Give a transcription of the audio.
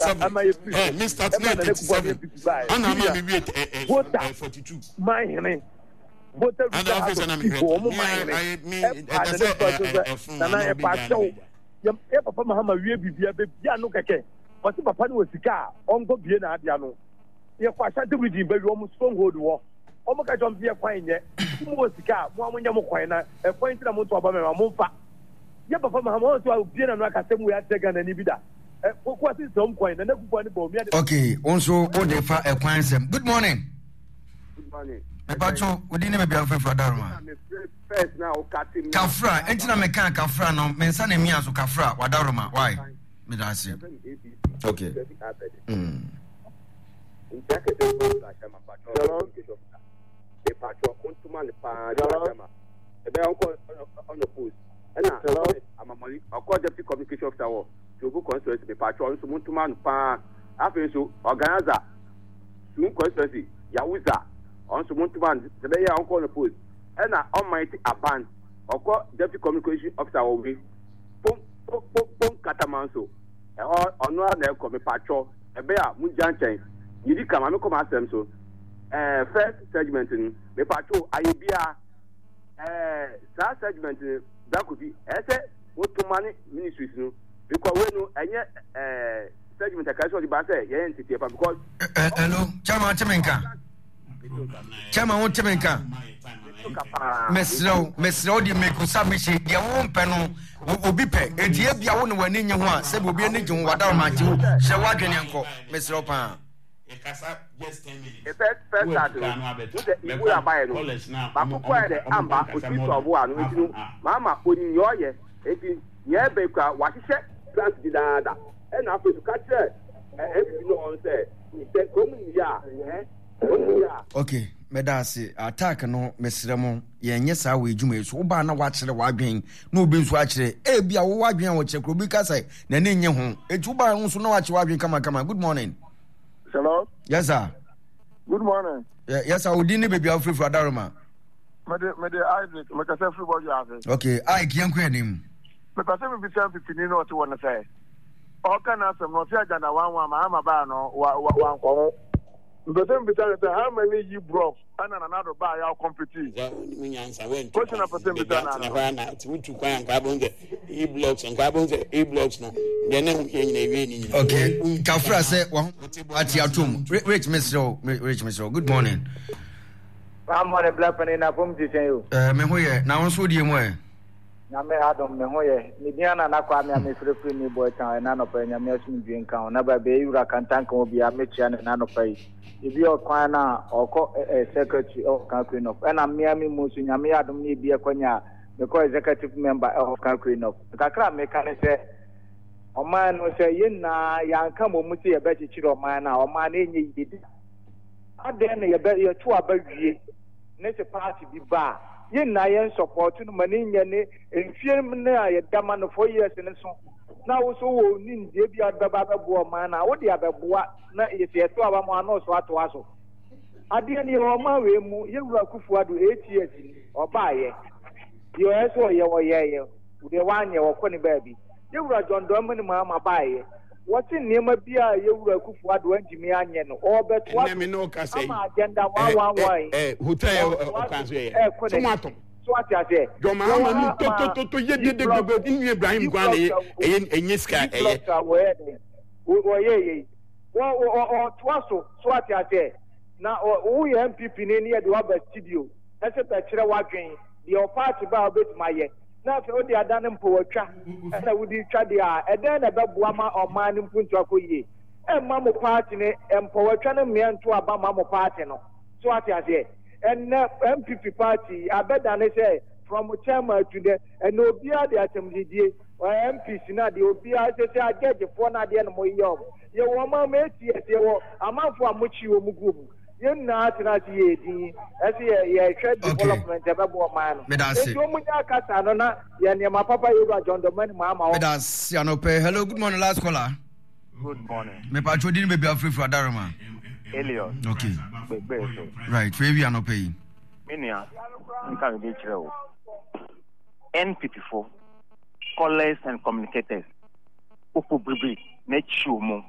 Ama yɛ firi so ɛma Nana Akufo-Addo NPP baeɛ. Senior Volta manhene Volta Region House of Chiefs wɔn manhene ɛpaa Nana Akufo-Addo sɛ Nana yɛpa akyɛw yɛ papa Mahama wie biribiara bɛbia ano kɛkɛ ɔse papa no wɔ sika a ɔnkɔ bie n'ade ano yɛkɔ Ashanti Region baabi wɔn stronghold wɔ wɔn ka kyerɛ wɔn sɛ yɛ kwan nyɛ mo wɔ sika a mo a monyɛ mo kwan na ɛkwan nti na mo nto aba mɛma mo mfa yɛ papa Mahama wɔn nso a obie n'ano akasɛm wei akyerɛ Ghana ni bi da. Okay, wo nso wo de fa ɛkwan nsɛm. Good morning. Good morning. Mepatwo, wo din ne baabi a wofrɛfrɛ Adaroma. Kafra, enti na meka kafra no, me nsa na emia so kafra, wadaroma, why? Meda ase. Okay. Mm. Ɔkɔ deputy communication officer wɔ Jobu constituency mepakyɛw ɔno nso montoma no paa afei nso organizer Sun constituency Yawuza ɔno nso montoma no sɛ bɛyɛ a ɔnkɔ no post ɛna ɔman ti aban ɔkɔ deputy communication officer wɔ wei pom pom pom pom kataman so ɛhɔ ɔno ara na ɛkɔ mepakyɛw ɛbɛyɛ a mongya nkyɛn yɛdi ka ma mekɔ m'asɛm so ɛɛ first segment no mepakyɛw ayɛ biara ɛɛ saa segment no Brakofi ɛsɛ Wotoma ne ministries no because wei no ɛnyɛ ɛɛ segment ɛka sɛ ɔde ba sɛ yɛyɛ nteteɛ pa because. Hello, chairman wote me nka? Chairman wote me nka? Mesrɛ wo, mesrɛ wo de make submission deɛ wo mpɛ no obi pɛ eti ebia wo na w'ani nye ho a sɛbi obi ani gye ho wada ɔma nti wo hyɛ w'adwene nkɔ mesrɛ wo paa. First first start no wo sɛ ibu abayɛ no baako kɔ yɛ dɛ amba otumi sɔ ɔbo ano eti no maama onim nea ɔyɛ eti nea ɛbɛ kura wahyehyɛ plans dedaada ɛna afei so ka kyerɛ NPP no ɔn sɛ sɛ kurom yɛ a ɛ kurom yɛ a. Okay, mɛda ase. Attack no mesrɛ mo yɛnyɛ saa wɔ adwuma yi so. Wobaa na wakyerɛ w'adwen na obi nso akyerɛ. Ebi a wowɔ adwen a wɔkyerɛ koro obi ka sɛ n'ani nye ho. Eti wobaa nso na wakyerɛ w'adwen kamakama. Good morning. Hello. Yes sir. Good morning. Yeah, yes sir. Odi ne baabi a wofirifiri Adaroma. Mede mede Isaac mekasa firi bɔdwo ase. Okay, Ike yɛn kɔ anim. Mepɛ sɛ mebisa mfifini na ɔte wɔ no sɛ ɔka n'asɛm no ɔse agenda one one mahama baa no wankɔ ho. Mepɛ sɛ mebisa no sɛ how many yi brɔf ɛna Nana Addo baa yɛ a ɔkɔmpitii? Question a pɛ sɛ mebisa no ano. Hɔ na wotu kwan a nka abɛhu sɛ e blocks nka abɛhu sɛ e blocks no deɛ na ɛho hia nyina ewie ne nyina. Okay, kafra sɛ waho ate atom. Rich mesrɛ wo, Rich mesrɛ wo. Good morning. Good morning, Black Penny na fam ti sɛn o. Eh, me ho yɛ. Na wo nso die mu ɛ? Nyame adom me ho yɛ. Me din ana na Kwame a mefrɛfiri New Boy Town ɛna anɔpa yi Nyame asomdwie nka ho. Na baabi a Ewura Kantanka wɔ biara mɛkyia no ɛna anɔpa yi. Ebi ɔkwan no a ɔkɔ eh, secretary ɛwɔ Kakuri North. Ɛna mmea me mu nso Nyame yɛ adom ne ebi ɛkɔnya a mekɔ executive member ɛwɔ Kakuri North. Kakra a meka ne sɛ ɔman no sɛ yɛn nyinaa yɛanka mmom sɛ yɛbɛkyekyere ɔman no a ɔman no ɛnyɛ yie da. Adɛn na yɛbɛ yɛto aba wie ne sɛ party bi ba a yɛn nyinaa yɛn support no ma ne nyɛ ne mfie no a yɛda ma no 4 years no so na wo so wɔ nimdeɛ bi a wode bɛba abɛboa ɔman no a wode abɛboa na yɛsɛ yɛto aba ma ano so atoa so adeɛ no yɛwɔ ɔman wei mu yɛwura Akufo Addo 8 years ni ɔbaayɛ deɛ ɔyɛ sɛ ɔyɛ ɔyɛɛyɛ deɛ wanyɛ ɔkɔ ne baabi yɛwura John Dramani Mahama baayɛ wɔte nneɛma bi a yɛwura Akufo Addo antumi anyɛ no ɔrebɛtoa ɛnɛ me ne wo kasa so yi ama agenda 111 yi ɛ hotel yɛ ɔretoa ɔkwan so so yɛ ɛrekɔ sɛ mo n'anim atɔm so ate aseɛ John yɛwɔ Mahama ha no ma totototo yɛ e dede blocks gbogbo nnu Ibrahim e kwan na blocks ɛyɛ a ɛyɛ ɛnyɛ sika e ɛyɛ blocks a wɔyɛ dɛn wɔyɛ yɛ yi wɔ wɔ ɔtoa so so ate aseɛ na woyɛ NPP ni ne yɛde waba studio ɛsɛ bɛkyerɛ w'adwen deɛ ɔpaati ba a wobɛtumi ayɛ na afei wode ada no mpo watwa ɛna wode twa deɛ a ɛdɛn na ɛbɛboa ma ɔman no mpuntu akɔ yie ɛmma mo paati no mpɔwatwa no mmea nto aba ma mo paati no so ate aseɛ ɛnɛ NPP party abɛdane sɛ from chairman to dɛ ɛnɛ obiara de asɛmdidie MPs no adeɛ obiara sɛ sɛ agyɛgyefoɔ no adeɛ no mo yɛ ɔmo yɛwɔ ɔman mu ATS yɛwɔ amanfoɔ a mokyi wɔn gu mu yɛn nyinaa tena ase yɛ edin ɛsɛ yɛ yɛhwɛ development ɛbɛbɔ ɔman no Meda ase. nti wɔn nyɛ akasa no na yɛ nneɛma papa yɛwura John Dramani Mahama hɔ. Meda ase anɔpɛ. Hello, good morning, last caller. Good morning. Mepatwo din baabi afirifiri Adaroma. Elios. Okay. Gbegbe so. Right, fɛ ewi anɔpɛ yi. Me nua, nka me bi kyerɛ o. NPP fo, scholars and communicators, wofo biribiri na akyi wɔn.